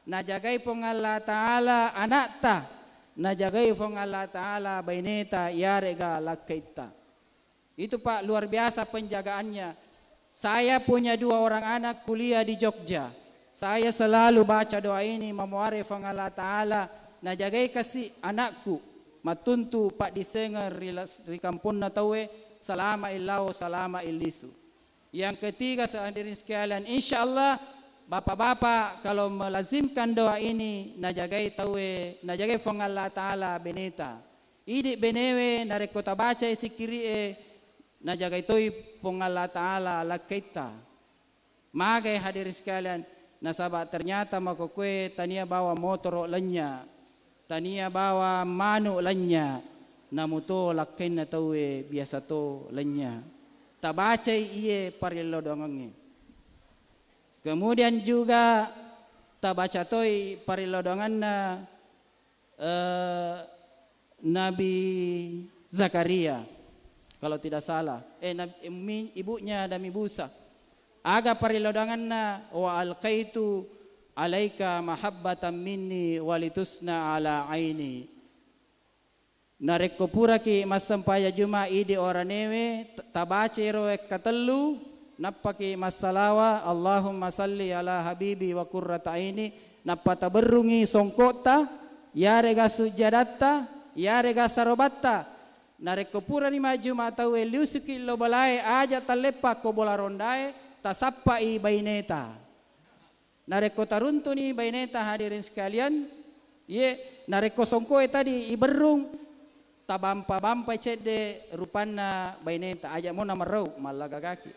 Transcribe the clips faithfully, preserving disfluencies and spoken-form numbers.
najagai Puang Allah Ta'ala anakta, najagai Puang Allah Ta'ala baineta, iyarega lakkaitta. Itu, Pak, luar biasa penjagaannya. Saya punya dua orang anak kuliah di Jogja. Saya selalu baca doa ini, memohon Puang Allah Ta'ala najagai kasi anakku, mattuntu paddisengeng ri las-, ri kamponna tauwe, salama illao, salama illisu. Yang ketiga, hadirin sekalian, insya Allah bapak-bapak kalau melazimkan doa ini, najagai tauwe, najagai Puang Allah Ta'ala beneta. Idi benewe narekko tabacai sikiri'e, najagai toi Puang Allah Ta'ala lakkaitta. Magai, hadirin sekalian, nasaba ternyata makkokkoe tania bawa motoro lenya, tania bawa manu lenya, namuto lakkainna tauwe biasa to lenya. Tabacai iye parellau doangengnge. Kemudian juga tabaca toi parellau doangenna eh, Nabi Zakaria, kalau tidak salah. Eh, Nab-, mi-, ibunya Nabi Musa. Aga parellau doangenna, "Wa alqaitu alaika mahabbatan minni walitusna ala aini." Narekko puraki massempajang Juma idi oranewe, t-, tabaca ero wekka tellu, nappaki massalawa, "Allahumma salli ala habibi wa qurrata aini," nappa taberrungi songkotta, yarega sujjadatta, yarega sarobatta. Narekko purani majjuma tauwe, liusuki lo bolae, aja talleppa ko bola rondae, tasappai baineta. Narekko taruntuni baineta, hadirin sekalian, ye, narekko songkoe tadi iberrung, tabampa-bampai cedde rupanna baineta, aja mo namerrau, mallagagaki.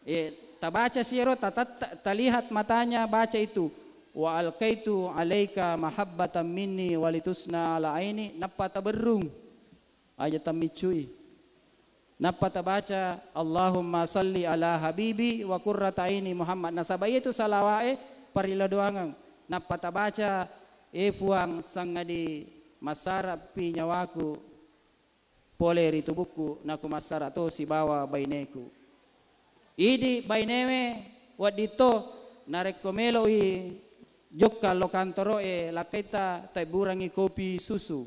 Eh, tabaca siro, tatatta-, talihat matanya baca itu. "Wa alqaitu alaika mahabbatan minni walitusna ala aini," nappa taberrung. Aja tammiccui. Nappa tabaca, "Allahumma salli ala habibi wa qurrata aini Muhammad." Nasaba iyatu salawae parellau doangeng. Nappa tabaca, "E Fuang, sangadi massarapi nyawaku pole ri tubukku, naku massara to sibawa baineku." Idi bainewe wedding to, narekko melo'i jokka lo kantoro'e, lakkaitta taibburangngi kopi susu.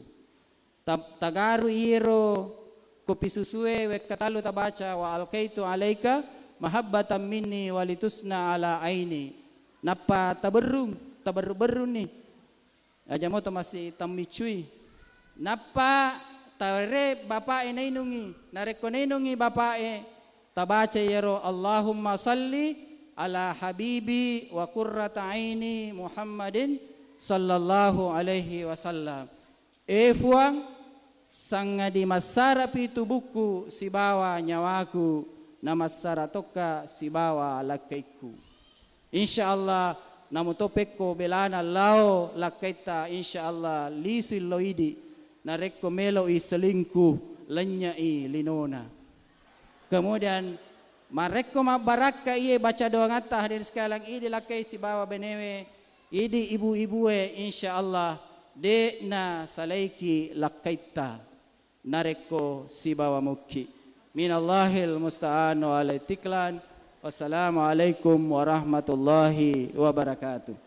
Ta-, tagaru iyero kopi susue wekka tallu tabaca, "Wa alqaitu alaika mahabbatan minni walitusna ala aini." Nappa taberrung, taberru-berrunni. Aja moto massi tammiccui. Nappa tare bapa'e nainungi. Narekko nainungi bapa'e, tabaca iyaro, "Allahumma salli ala habibi wa qurrata aini Muhammadin sallallahu alaihi wasallam." E Fuang, sangadi massarapi tubukku sibawa nyawaku, namassara tokka sibawa lakkaikku. Insya Allah, namuto pekko belana lao lakkaitta, insya Allah, lisui lo idi, narekko melo'i selingkuh, lennyai linona. Kemudian, marekko mabbarakka iye baca doangatta, hadirin sekalian, idi lakkai sibawa benewe, idi ibu-ibue, insya Allah, de'na salaiki lakkaitta. Narekko sibawa mukki. Minallahil musta'an wa alaihi tiklan. Wassalamualaikum warahmatullahi wabarakatuh.